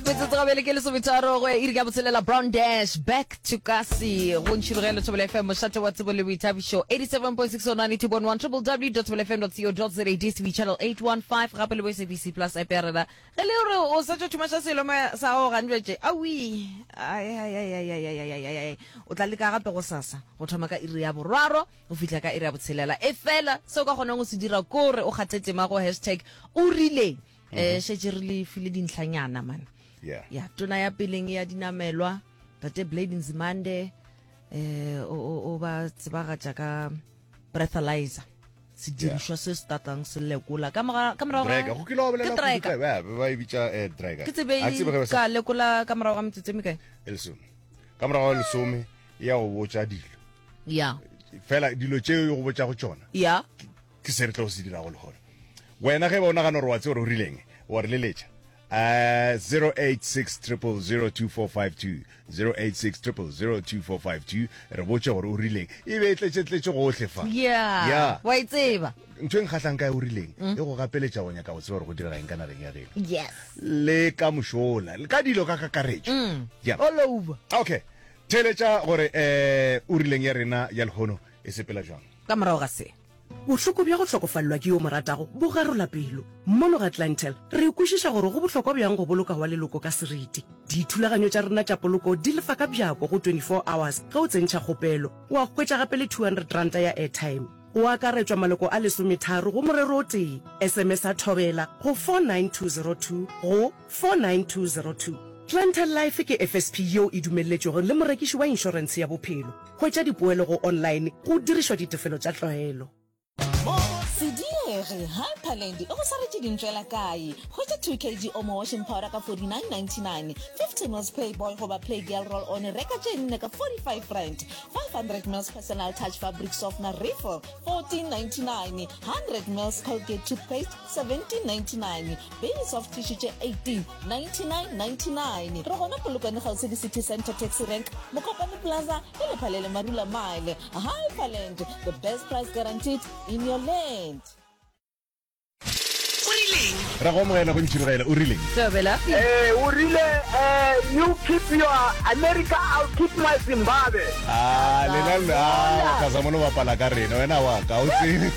Metsotso gabele ke lesometharo go ya iri ka botshelela Brown Dash back to kasi go ntšhirogelo Thobela FM mošate wa tsebo le boithabišo 87.6 on 92.1 www.thobelafm.co.za DStv channel 815 gape le bo SABC Plus app ya rena ge le gore o sa tšo thumaša selo sa gago gantšwetše awi ai ai ai ai ai ai ai ai ai o tla leka gape go sasa go thoma ka iri ya boraro go fihla ka iri ya botshelela e fela se o ka kgonang go se dira kore o kgathe tema go hashtag o rileng um šetše re le file dintlhanyana man Yeah. ya tona ya peleng ya dinamelwa tate Blade Nzimande eh o o- o ba tsebagatša ka breathalyzer sedirišwa se se tatang se lekola ka moga- ka morago ga- Drager. Go kile wa bolela ke kudu tracker. ka- ba ba e bitša eh, drager. ke tsebe Ha ke tsebe ge ba sa- ka lekola ka morago ga metsotso e mekae e lesome. Ka morago ga lesome e ya go botša dilo. ya Fela dilo tšeo e go botšago tšona ya ke se re tlo se dirago lehono. Wena ge ba o nagana gore wa tseba gore o rileng, wa re leletša. Uh, 086 0002452 086 0002452 re botše gore o rileng e be e tletše-tletše gohle fa ya Ya. wa e tseba ntho e nkgahlang ka e o rileng e go gapeletša go nyaka go tseba gore go direga eng ka nageng ya geno yes le ka mošola le ka dilo ka kakaretšo yeah. all over okay theeletša gore um o rileng ya rena ya lehono e sepela jwang ka morago ga se Bohloko bja go hlokofalelwa ke yo o mo ratago bo garola pelo. Mono ga Clientele, re kwešiša gore go bohlokwa bjang go boloka wa leloko ka seriti. Dithulaganyo tša rena tša poloko di lefa ka bjako go 24 hours ge o tsentšha kgopelo. Wa hwetša gape le R200 ya airtime. Go akaretšwa maloko a lesometharo go morero o tee. SMS-a Thobela go 49202 go 49202. Clientele Life ke FSP yeo e dumelletšwego le morekiši wa inšorentshe ya bophelo. Hwetša dipoelo go online go dirišwa ditefelo tša tlwaelo. Se diege, Hyperland e go swaretše dintšwela kae? Hwetša 2 kg Omo washing powder ka 49.99, 50 mils Playboy goba Playgirl roll on reka tše nne ka 45 rand, 500 mils Personal Touch fabric softener refill 14.99, 100 mils Colgate toothpaste 17.99, Baby soft tissue tše 18 99.99. Re gona Polokwane kgauswi le City Centre Taxi Rank, Mokopane Plaza le Lephalele Marula Mile. Hyperland, the best price guaranteed in your land. O rileng? Ra go amogela go Ntšhirogela, o rileng? Thobela. Eh, o rile eh, you keep your America, I'll keep my Zimbabwe. Ah, lena ah, ka sa mono bapala ka rena, wena wa ka o tsebe.